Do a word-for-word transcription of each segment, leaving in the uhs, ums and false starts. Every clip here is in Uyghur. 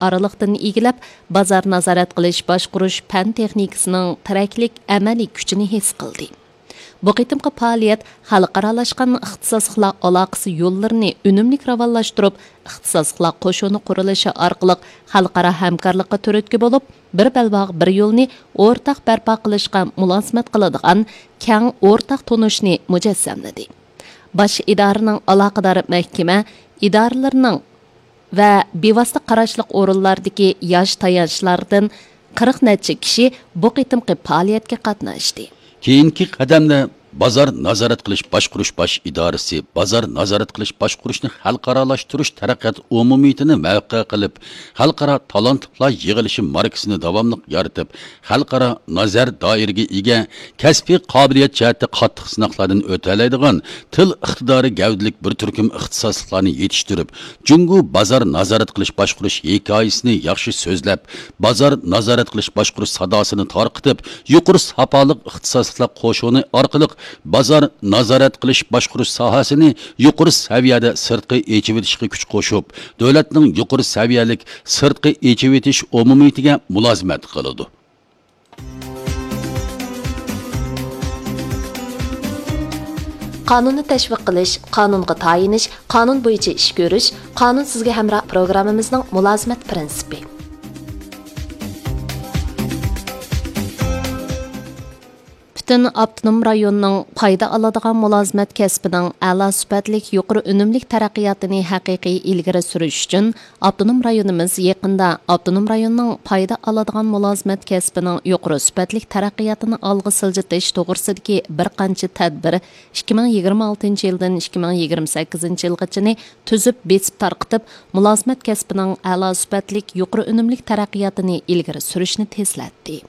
ئارىلىقتىن ئىگىلەپ، بازار نازارەت قىلىش باشقۇرۇش پەن تېخنىكىسىنىڭ تىرەكلىك ئەمەلىي كۈچىنى ھېس قىلدى. بۇ قېتىمقى پائالىيەت خەلقئارالاشقان ئىختىساسلىقلار ئالاقىسى يوللىرىنى ئۈنۈملۈك راۋانلاشتۇرۇپ، ئىختىساسلىقلار قوشۇنى قۇرۇلۇشى ئارقىلىق خەلقئارا ھەمكارلىققا تۈرتكە بولۇپ، بىر بەلباغ، بىر يولنى ئورتاق بەرپا قىلىشقا مۇلازىمەت قىلىدىغان كەڭ ئورتاق تونۇشنى مۇجەسسەملىدى. باش ئىدارىنىڭ ئالاقىدار مەھكىمە ئىدارىلىرىنىڭ ۋە بىۋاسىتە قاراشلىق ئورۇنلاردىكى ياش تايانچلاردىن قىرىق نەچچە كىشى بۇ قېتىمقى پائالىيەتكە قاتناشتى. كېيىنكى قەدەمدە بازار نازارەت قىلىش باشقۇرۇش باش ئىدارىسى بازار نازارەت قىلىش باشقۇرۇشنى خەلقئارالاشتۇرۇش تەرەققىيات ئومۇمىيىتىنى مەۋقە قىلىپ، خەلقئارا تالانتلار يىغىلىشى ماركىسىنى داۋاملىق يارىتىپ، خەلقئارا نازەر دائىرىگە ئىگە، كەسپىي قابىلىيەت جەھەتتە قاتتىق سىناقلاردىن ئۆتەلەيدىغان، تىل ئىقتىدارى گەۋدىلىك بىر تۈركۈم ئىختىساسلىقلارنى يېتىشتۈرۈپ، جۇڭگو بازار نازارەت قىلىش باشقۇرۇش ھېكايىسىنى ياخشى سۆزلەپ، بازار نازارەت قىلىش باشقۇرۇش ساداسىنى تارقىتىپ، يۇقىرى ساپالىق ئىختىساسلىقلار قوشۇنى ئارقىلىق بازار نازارەت قىلىش باشقۇرۇش ساھەسىنى يۇقىرى سەۋىيەدە سىرتقا ئېچىۋېتىشقا كۈچ قوشۇپ، دۆلەتنىڭ يۇقىرى سەۋىيەلىك سىرتقا ئېچىۋېتىش ئومۇمىيىتىگە مۇلازىمەت قىلىدۇ. قانۇننى تەشۋىق قىلىش، قانۇنغا تايىنىش، قانۇن بويىچە ئىش كۆرۈش، قانۇن سىزگە ھەمراھ پروگراممىمىزنىڭ مۇلازىمەت پىرىنسىپى. پۈتۈن ئاپتونوم رايوننىڭ پايدا ئالىدىغان مۇلازىمەت كەسپىنىڭ ئەلا سۈپەتلىك، يۇقىرى ئۈنۈملۈك تەرەققىياتىنى ھەقىقىي ئىلگىرى سۈرۈش ئۈچۈن، ئاپتونوم رايونىمىز يېقىندا ئاپتونوم رايوننىڭ پايدا ئالىدىغان مۇلازىمەت كەسپىنىڭ يۇقىرى سۈپەتلىك تەرەققىياتىنى ئالغا سىلجىتىش توغرىسىدىكى بىر قانچە تەدبىر، ئىككى مىڭ يىگىرمە ئالتىنچى يىلدىن ئىككى مىڭ يىگىرمە سەككىزىنچى يىلغىچىنى تۈزۈپ، بېسىپ تارقىتىپ، مۇلازىمەت كەسپىنىڭ ئەلا سۈپەتلىك، يۇقىرى ئۈنۈملۈك تەرەققىياتىنى ئىلگىرى سۈرۈشنى تېزلەتتى.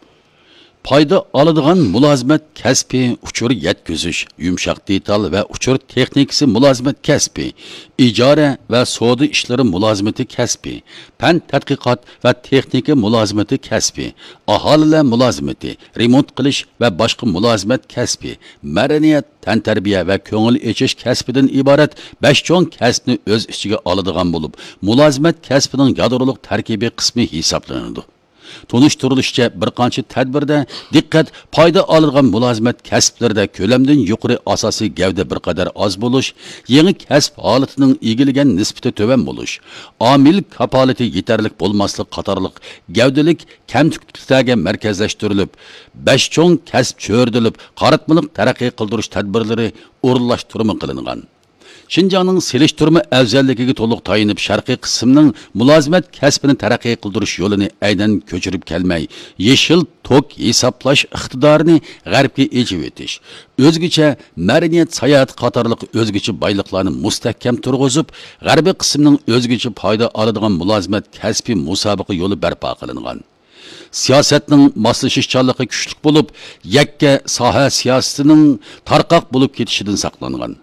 پايدا ئالىدىغان مۇلازىمەت كەسپى ئۇچۇر يەتكۈزۈش، يۇمشاق دېتال ۋە ئۇچۇر تېخنىكىسى مۇلازىمەت كەسپى، ئىجارە ۋە سودا ئىشلىرى مۇلازىمىتى كەسپى، پەن تەتقىقات ۋە تېخنىكا مۇلازىمىتى كەسپى، ئاھالىلەر مۇلازىمىتى، رېمونت قىلىش ۋە باشقا مۇلازىمەت كەسپى، مەدەنىيەت، تەنتەربىيە ۋە كۆڭۈل ئېچىش كەسپىدىن ئىبارەت بەش چوڭ كەسىپنى ئۆز ئىچىگە ئالىدىغان بولۇپ، مۇلازىمەت كەسپىنىڭ يادرولۇق تەركىبىي قىسمى ھېسابلىنىدۇ. تونۇشتۇرۇلۇشىچە، بىر قانچە تەدبىردە دىققەت پايدا ئالىدىغان مۇلازىمەت كەسىپلىرىدە كۆلەمدىن يۇقىرى ئاساسىي گەۋدە بىر قەدەر ئاز بولۇش، يېڭى كەسىپ ھالىتىنىڭ ئىگىلىگەن نىسبىتى تۆۋەن بولۇش، ئامىل كاپالىتى يېتەرلىك بولماسلىق قاتارلىق گەۋدىلىك كەمتۈكلۈكلەرگە مەركەزلەشتۈرۈلۈپ، بەش چوڭ كەسىپ چۆرىدىلىپ، قاراتمىلىق تەرەققىي قىلدۇرۇش تەدبىرلىرى ئورۇنلاشتۇرما قىلىنغان. شىنجاڭنىڭ سېلىشتۇرما ئەۋزەللىكىگە تولۇق تايىنىپ، شەرقىي قىسىمنىڭ مۇلازىمەت كەسپىنى تەرەققىي قىلدۇرۇش يولىنى ئەينەن كۆچۈرۈپ كەلمەي، يېشىل توك ھېسابلاش ئىقتىدارىنى غەربكە ئېچىۋېتىش، ئۆزگىچە مەدەنىيەت ساياھەتى قاتارلىق ئۆزگىچە بايلىقلارنى مۇستەھكەم تۇرغۇزۇپ، غەربىي قىسىمنىڭ ئۆزگىچە پايدا ئالىدىغان مۇلازىمەت كەسپىي مۇسابىقە يولى بەرپا قىلىنغان. سىياسەتنىڭ ماسلىشىشچانلىقى كۈچلۈك بولۇپ، يەككە ساھە سىياسىتىنىڭ تارقاق بولۇپ كېتىشىدىن ساقلانغان.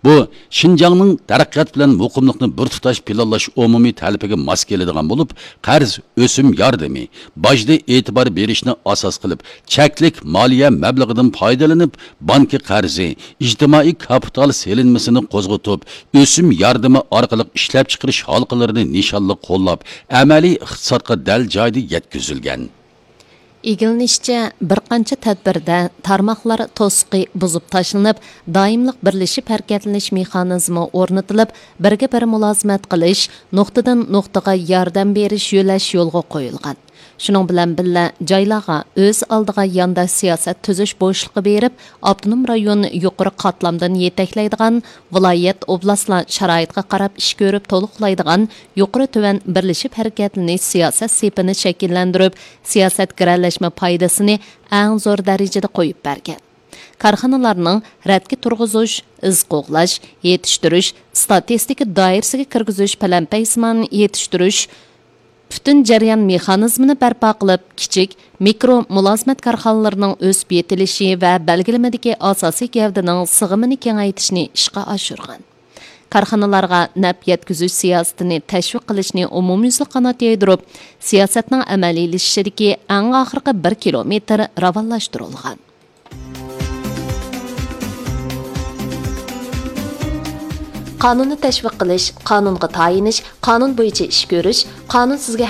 بۇ، شىنجاڭنىڭ تەرەققىيات بىلەن مۇقىملىقنى بىر تۇتاش پىلانلاش ئومۇمىي تەلىپىگە ماس كېلىدىغان بولۇپ، قەرز، ئۆسۈم ياردىمى، باجدا ئېتىبار بېرىشنى ئاساس قىلىپ، چەكلىك مالىيە مەبلىغىدىن پايدىلىنىپ، بانكا قەرزى، ئىجتىمائىي كاپىتال سېلىنمىسىنى قوزغىتىپ، ئۆسۈم ياردىمى ئارقىلىق ئىشلەپچىقىرىش ھالقىلىرىنى نىشانلىق قوللاپ، ئەمەلىي ئىقتىسادقا دەل جايىدا يەتكۈزۈلگەن. ئىگىلىنىشىچە، بىر قانچە تەدبىردە تارماقلار توسۇقى بۇزۇپ تاشلىنىپ، دائىملىق بىرلىشىپ ھەرىكەتلىنىش مېخانىزمى ئورنىتىلىپ، بىرگە بىر مۇلازىمەت قىلىش، نۇقتىدىن نۇقتىغا ياردەم بېرىش يۆلەش يولغا قويۇلغان. شۇنىڭ بىلەن بىللە، جايلارغا ئۆز ئالدىغا يانداش سىياسەت تۈزۈش بوشلۇقى بېرىپ، ئاپتونوم رايون يۇقىرى قاتلامدىن يېتەكلەيدىغان، ۋىلايەت، ئوبلاستلار شارائىتقا قاراپ ئىش كۆرۈپ تولۇقلايدىغان يۇقىرى تۆۋەن بىرلىشىپ ھەرىكەتلىنىش سىياسەت سېپىنى شەكىللەندۈرۈپ، سىياسەت گىرەلەشمە پايدىسىنى ئەڭ زور دەرىجىدە قويۇپ بەرگەن. كارخانىلارنىڭ رەتكە تۇرغۇزۇش، ئىز قوغلاش، يېتىشتۈرۈش، ئىستاتىستىكا دائىرىسىگە كىرگۈزۈش، پەلەمپەيسىمان يېتىشتۈرۈش، پۈتۈن جەريان مېخانىزمىنى بەرپا قىلىپ، كىچىك، مىكرو مۇلازىمەت كارخانىلىرىنىڭ ئۆسۈپ يېتىلىشى ۋە بەلگىلىمىدىكى ئاساسىي گەۋدىنىڭ سىغىمىنى كېڭەيتىشنى ئىشقا ئاشۇرغان. كارخانىلارغا نەپ يەتكۈزۈش سىياسىتىنى تەشۋىق قىلىشنى ئومۇميۈزلۈك قانات يايدۇرۇپ، سىياسەتنىڭ ئەمەلىيلىشىشىدىكى ئەڭ ئاخىرقى بىر كىلومېتىر راۋانلاشتۇرۇلغان. قانۇننى تەشۋىق قىلىش، قانۇنغا تايىنىش، قانۇن بويىچە ئىش كۆرۈش، قانۇن سىزگە